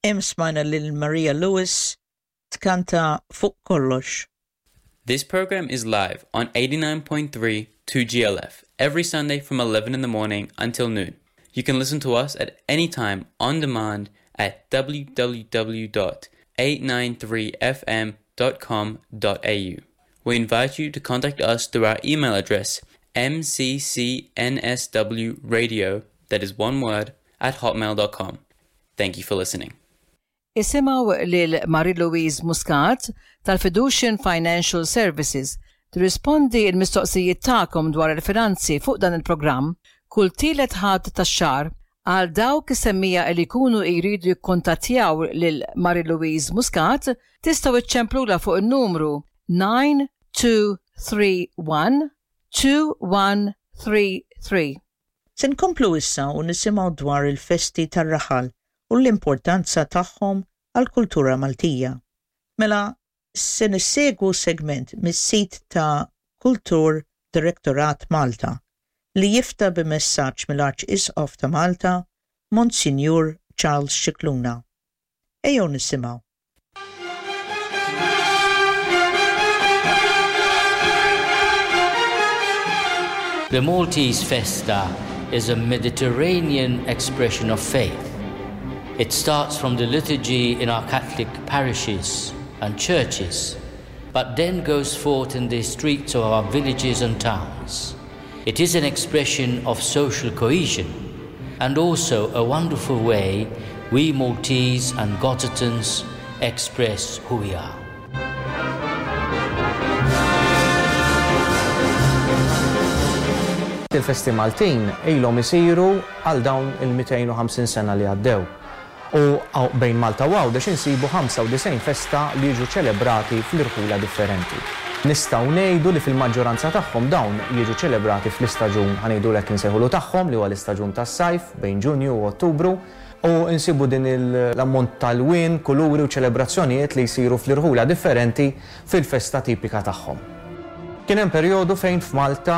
Hemm smajna lil Maria Lewis tkanta Fuq Kollox. This program is live on 89.3 2GLF every Sunday from 11 in the morning until noon. You can listen to us at any time on demand at www.893fm.com.au. We invite you to contact us through our email address mccsnwradio, that is one word, at hotmail.com. Thank you for listening. Isimgħu lil Marie-Louise Muscat tal-Fiducian Financial Services tirrispondi l-mistoqsijiet tagħkom dwar il-finanzi fuq dan il-programm kull tielet Ħadd tax-xahar. Għal dawk is-semmiegħa li jkunu jridu jikkuntattjaw lil Marie-Louise Muscat tistgħu iċċemplulha fuq in-numru 9231 2133. Se nkomplu issa u nisimgħu dwar il-festi tar-raħal u l-importanza tagħhom għall-kultura Maltija. Mela se nissegwu segment mis-sit ta' Kultur Directorat Malta li jifta' b'messaġġ mill-Arċisqof ta' Malta, Monsinjur Charles Scicluna. Ejjew nisimgħu. The Maltese Festa is a Mediterranean expression of faith. It starts from the liturgy in our Catholic parishes and churches, but then goes forth in the streets of our villages and towns. It is an expression of social cohesion and also a wonderful way we Maltese and Gozitan's express who we are. Il-festi Maltin ilhom isiru għal dawn il-250 sena li għaddew. U bejn Malta u Għawdex insibu 95 festa li jiġu ċelebrati fl-irħula differenti. Nistgħu ngħidu li fil-maġġoranza tagħhom dawn jiġu ċelebrati fl-istaġun, ħa ngħidu hekk insejħulu tagħhom, li huwa l-istaġun tas-sajf, bejn Ġunju u Ottubru. U nsibu din l-ammont ta' lwien, kuluri u ċelebrazzjonijiet li jsiru fl-irħula differenti fil-festa tipika tagħhom. Kien hemm perjodu fejn f'Malta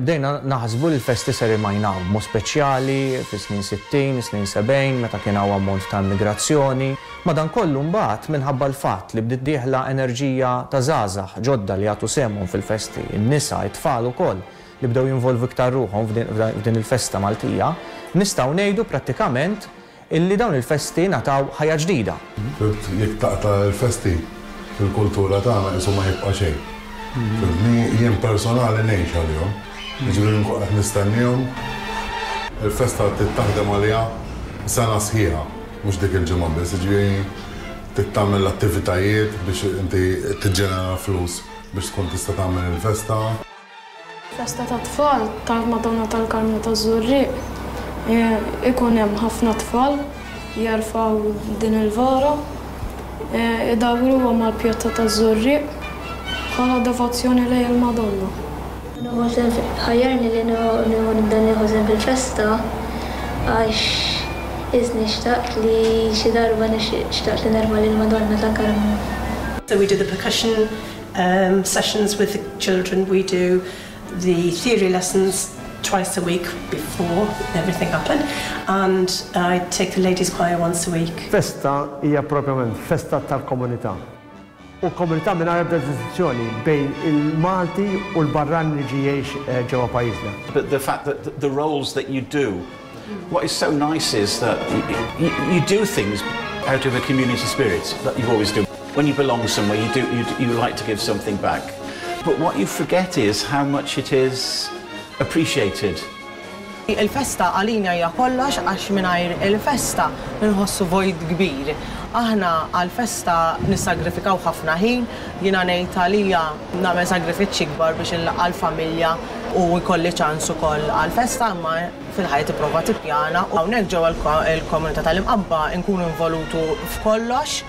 bdejna naħsbu li l-festi ser imajnaw, b'mod speċjali fis-snin 60, is-snin 70, meta kien hawn ammont ta' immigrazzjoni. Madankollu mbagħad, minħabba l-fatt li bdiet dieħla enerġija ta' żgħażagħ ġodda li jagħtu sehemhom fil-festi, in-nisa, it-tfal ukoll, li bdew jinvolvu iktar ruħhom f'din il-festa Maltija, nistgħu ngħidu prattikament illi dawn il-festi ngħataw ħajja ġdida. Fhimt, jekk taqta' l-festi fil-kultura tagħna qisu ma jibqa' xejn. Fhimtni, jien personali ngħix għalihom. Jiġifieri nkun qed nistenniehom. Il-festa trid taħdem għaliha sena sħiħa, mhux dik il-ġimgħa biss, jiġifieri trid tagħmel l-attivitajiet biex inti tiġġenera flus biex tkun tista' tagħmel il-festa. Festa tat-tfal tal-Madonna tal-Karmnu taż-Żurrieq ikun hemm ħafna tfal jerfgħu din il-vara, idawruha mal-pjazza taż-Żurrieq bħala devozzjoni lejn il-Madonna. Nieħu sehem Ħajjarni li nieħu nibda nieħu sehem fil-festa għax isni xtaqt li xi darba xtaqt li nerfa' lill-Madonna tal-Karmnu. So we do the percussion um, sessions with the children, we do the theory lessons twice a week before everything happened, and I take the ladies choir once a week. Festa hija propjament festa tal-komunità. U komunità mingħajr ebda distinzjoni bejn il-Malti u l-barrani li ġie jgħix eh, ġewwa pajjiżna. But the fact that the roles that you do, what is so nice is that you, you do things out of a community spirit that you always do. When you belong somewhere, you, do, you, you like to give something back. But what you forget is how much it is appreciated. Il-festa għalina hija kollox għax mingħajr il-festa nħossu vojt kbir. Aħna għal-festa nissagrifikaw ħafna ħin, jiena ngħid għalija nagħmel sagrifiċċji kbar biex inlaqqa' l-familja u jkolli ċans ukoll għal-festa imma fil-ħajja tipprova tippjana u hawnhekk ġewwa l-komunità tal-Imqabba nkunu involutu f'kollox.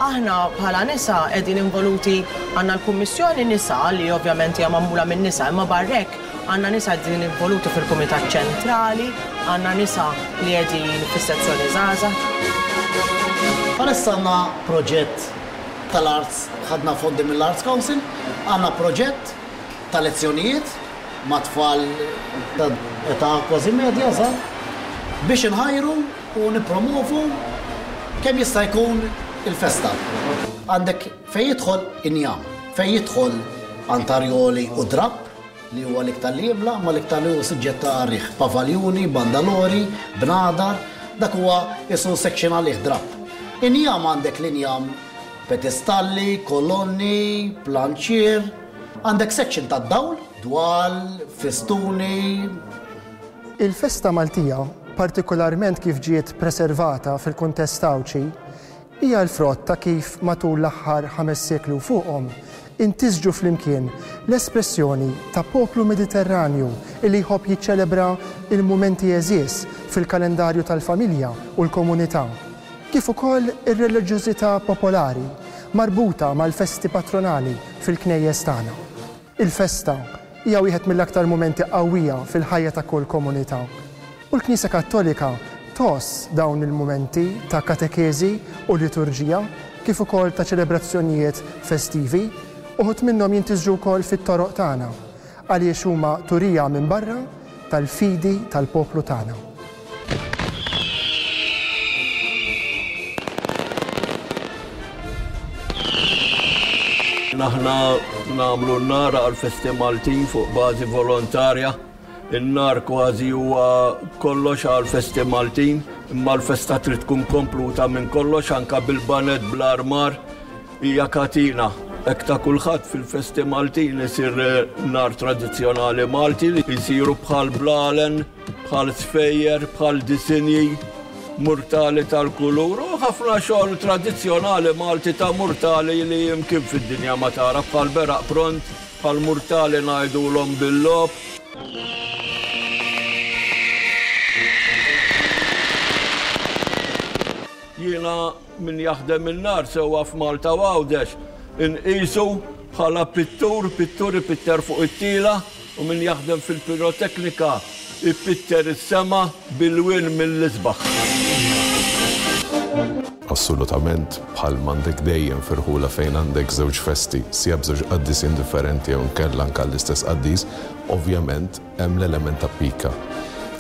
Aħna bħala nisa qegħdin involuti għandna l-Kummissjoni Nisa li ovvjament hija magħmula minn nisa imma barra hekk għandna nisa qegħdin involuti fil-Kumitat Ċentrali, għandna nisa li qegħdin fis-sezzjoni żgħażagħ. Bħalissa għandna proġett tal-Arts, ħadna fondi mill-Arts Council, għandna proġett ta' lezzjonijiet ma' tfal ta' età kważi medja, żgħar, biex inħajru u nippromovu. Kemm jista' jkun il-festa. Għandek fejn jidħol injam, fejn jidħol antarjoli u drapp, li huwa l-iktar li jimla, imma l-iktar li hu suġġett ta' riħ. Pavaljuni, bandalori, bnadar, dak huwa qisu section għalih drapp. Injam għandek l-injam pedestalli, kolonni, planċier, għandek section tad-dawl, dwal, festuni. Il-festa Maltija, partikularment kif ġiet preservata fil-kuntest Għawdxi, hija l-frott ta' kif matul l-aħħar ħames sekli u fuqhom intisġu flimkien l-espressjoni ta' poplu Mediterranju li jħobb jiċċelebra l-mumenti għeżież fil-kalendarju tal-familja u l-komunità, kif ukoll ir-reliġjożità popolari marbuta mal-festi patronali fil-knejjes tagħna. Il-festa hija wieħed mill-aktar mumenti qawwija fil-ħajja ta' kull komunità. U l-Knisja Kattolika tgħożż dawn il-mumenti ta' katekeżi u liturġija kif ukoll ta' ċelebrazzjonijiet festivi, uħud minnhom jintisġu wkoll fit-toroq tagħna, għaliex huma turija minn barra tal-fidi tal-poplu tagħna. Aħna nagħmlu n-nar għall-festi Maltin fuq bażi volontarja. In-nar kważi huwa kollox għall-festi Maltin, imma l-festa trid tkun kompluta minn kollox anke bil-baned bl-armar hija katina. Hekk ta' kulħadd fil-festi Maltin isir nar tradizzjonali Malti li jsiru bħal blalen, bħal sfejjer, bħal disinji, murtali tal-kulur u ħafna xogħol tradizzjonali Malti ta' murtali li imkien fid-dinja ma tara bħal beraq pront, bħal murtali ngħidulhom bil-logħob. Jiena min jaħdem in-nar sewwa f'Malta u Għawdex inqisu bħala pittur, pittur ipitter fuq it-tila u min jaħdem fil-piroteknika jpitter is-sema b'ilwien mill-isbaħ. Assolutament bħal m'għandek dejjem f'irħula fejn għandek żewġ festi, sija b'żewġ qaddisin differenti jew inkella anke għall-istess qaddis, ovvjament hemm l-element ta' pika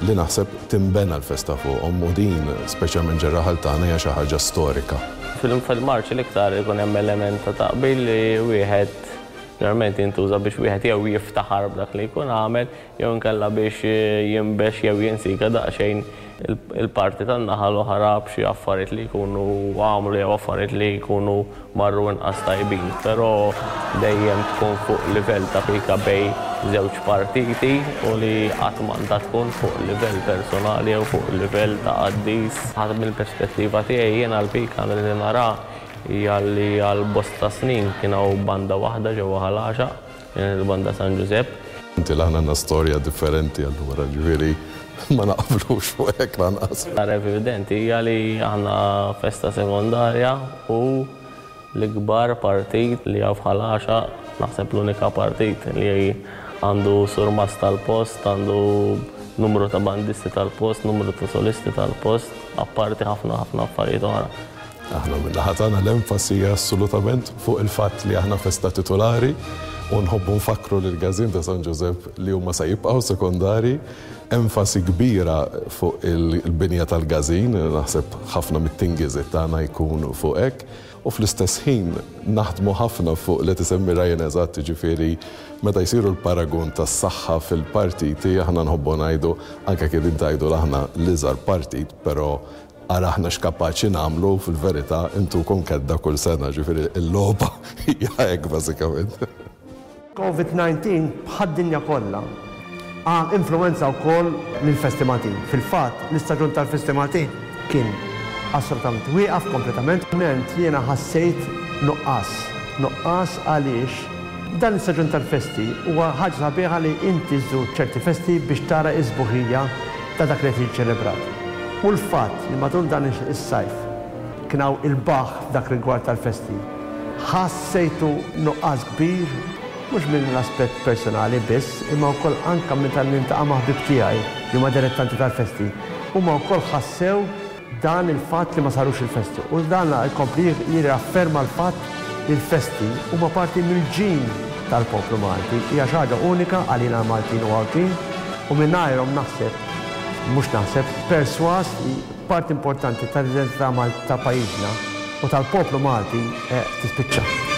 li naħseb tinbena l-festa fuqhom u din, speċjalment ġar-raħal tagħna, hija xi ħaġa storika. Fil-marċ l-iktar ikun hemm element ta' taqbil li wieħed Ġeneralment jintuża biex wieħed jew jiftaħar b'dak li jkun għamel jew inkella biex jinbex jew jinsika daqsxejn il-parti tan-naħa l-oħra b'xi affarijiet li jkunu għamlu jew affarijiet li jkunu marru inqas tajbin. Però dejjem tkun fuq livell ta' pika bejn żewġ partiti u li qatt m'għandha tkun fuq livell personali jew fuq livell ta' qaddis. Mill-perspettiva tiegħi jiena l-pika li nara hija li għal bosta snin kien hawn banda waħda ġewwa Ħal Għaxaq, kienet il-Banda San Ġużepp. Inti l-aħna għandna storja differenti allura, ġifieri ma naqblux fuq hekk lanqas. L-aktar evidenti hija li aħna festa sekondarja u l-ikbar partit li hawn f'Ħal Għaxaq, naħseb l-unika partit li għandu surmast tal-post, għandu numru ta' bandisti tal-post, numru ta' solisti tal-post, apparti ħafna ħafna affarijiet oħra. Aħna min-naħa tagħna l-enfasi hija assolutament fuq il-fatt li aħna festa titulari u nħobbu nfakkru lill-Każin ta' San Ġużepp li huma se jibqgħu sekondari. Enfasi kbira fuq il-binja tal-każin, naħseb ħafna mit-tingiżiet tagħna jkun fuq hekk. U fl-istess ħin naħdmu ħafna fuq li tisemmi Ryan eżatt, jiġifieri meta jsiru l-paragun tas-saħħa fil-partiti aħna nħobbu ngħidu anke jekk qegħdin tgħidu l aħna l-iżgħar partit però Ara aħna x'kapaċi nagħmlu fil-verità intukom kedda kull sena, ġifieri l-logħba hija hekk bażikament. Covid 19 bħad-dinja kollha influwenza wkoll lill-festi Maltin. Fil-fatt, l-istaġun tal-festi Maltin kien assolutament wieqaf kompletament. Ment jiena ħassejt nuqqas. Nuqqas għaliex dan l-istaġun tal-festi huwa ħaġa sabiħa li inti żżur ċerti festi biex tara s-sbuħija ta' dak li qed jiġi ċelebrat. U l-fatt li matul dan is-sajf kien hawn il-baħħ f'dak rigward tal-festi, ħassejtu nuqqas kbir, mhux minn l-aspett personali biss, imma wkoll anke meta niltaqa' ma' ħbieb tiegħi li huma dilettanti tal-festi, huma wkoll ħassew dan il-fatt li ma sarux il-festi u dan jkompli jirriafferma l-fatt li l-festi huma parti mill-ġin tal-poplu Malti. Hija xi ħaġa unika għalina l-Maltin u Għawdxin u mingħajrhom naħseb, mhux naħseb, persważ li. parti importanti tal-identità ta' pajjiżna u tal-poplu Malti tispiċċa.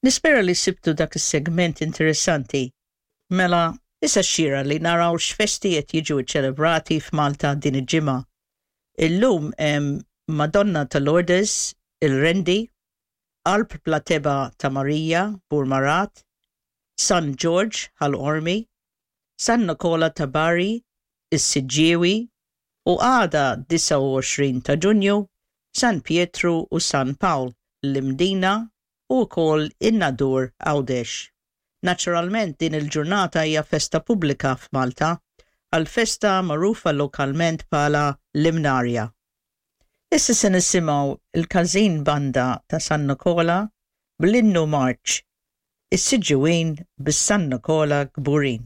Nispera li sibtu dak is-segment interessanti. Mela, issa xieraq li naraw x'festi qed jiġu ċċelebrati f'Malta din il-ġimgħa. Illum hemm Madonna ta' Lourdes, il-Qrendi, Qalb Bla Tebgħa ta' Marija, Burmarat, San Ġorġ, Ħal Qormi, San Nikola ta' Bari, is-Siġġiewi, u għada 29 ta' Ġunju, San Pietru u San Pawl, l-Imdina u wkoll in-Nadur Għawdex. Naturalment din il-ġurnata hija festa pubblika f'Malta, għall-festa magħrufa lokalment bħala l-Imnarja. Issa se nisimgħu l-Każin Banda ta' San Nikola bl-Innu Marċ, Is-Siġġiwin bis-San Nikola Kburin.